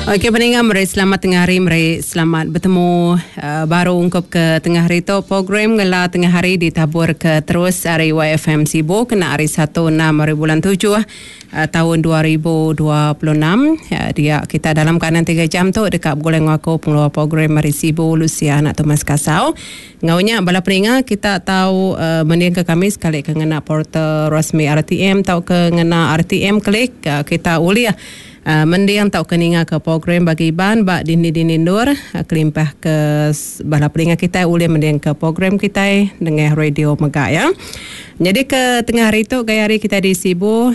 Okey peninga meri selamat tengah hari meri selamat betemu uh, baru ungkup ke tengah hari tu program ngela tengah hari ditabur ke terus ari YFM Sibu kena hari 1 6 hari bulan 7 uh, tahun 2026 uh, dia kita dalam kanan 3 jam tu dekat begulai enggau aku pengeluar program ari Sibu Lucia anak Thomas Kasau. Enggau nya bala peninga kita tau uh, mendingka kami sekali ke ngena portal rasmi RTM tauka ngena RTM klik uh, kita ulih Mending tauka ningaka program bagi Iban ba dini-dini endur kelimpah ke bala peninga kitai ulih mendingka program kitai nengah radio mega ya. Nyadi ke tengah hari tu gaya hari kitai di Sibu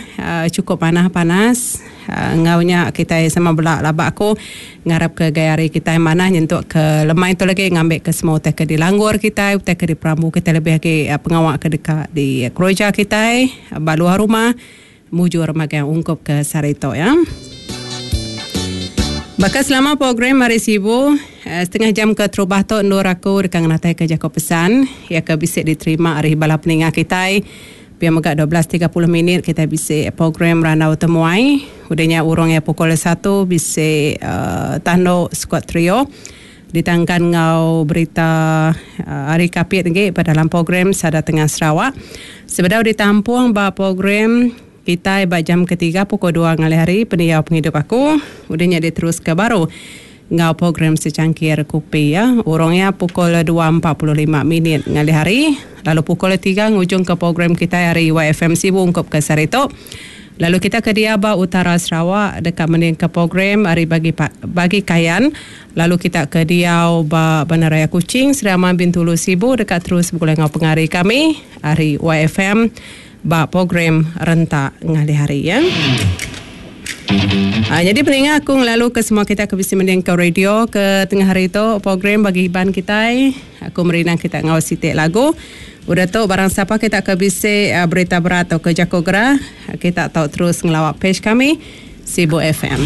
chukup manah panas enggau nya kitai sama bela laba aku ngarapka gaya hari kitai manah nyentuk ke lemai tu lagi ngambika semua utai ke dilanggur kitai utai ke diperambu kitai lebih agi pengawa ke deka dikereja kitai ba luar rumah. Mujur magang ungkup ke sehari tu ya. Baka selama program Hari Sibu, eh, setengah jam ke terubah tu endur aku deka ngenataika jaku pesan iya ke bisi diterima ari bala peninga kitai. Pia mega 12.30 minit kitai bisi program Randau Temuai. Udah nya urung iya pukul satu bisi uh, Tanduk Squad Trio ditangkan enggau berita ari Kapit agi ba dalam program Sada Tengah Sarawak. Sebedau ditampung ba program kitai ba jam ketiga pukul dua ngalih hari pendiau pengidup aku udah nya diteruska baru enggau program Secangkir Kupi ya urung iya pukul 2.45 minit ngalih hari lalu pukul tiga ngujungka program kitai ari YFM Sibu ungkup ke sehari tu. Lalu kita ke diau ba utara Sarawak deka mendingka program ari bagi bagi Kayan lalu kita ke diau ba Bandaraya Kuching, Sri Aman, Bintulu, Sibu deka terus begulai enggau pengari kami ari YFM ba program Rentak Ngalih Hari ya. Ha, nyadi peninga aku ngelalu ke semua kita ke bisi mendingka radio ke tengah hari tu program bagi Iban kitai. Aku merindang kita enggau siti lagu. Udah tu barang sapa kita ke bisi berita berat tauka jaku gerah, kita tau terus ngelawa page kami Sibu FM.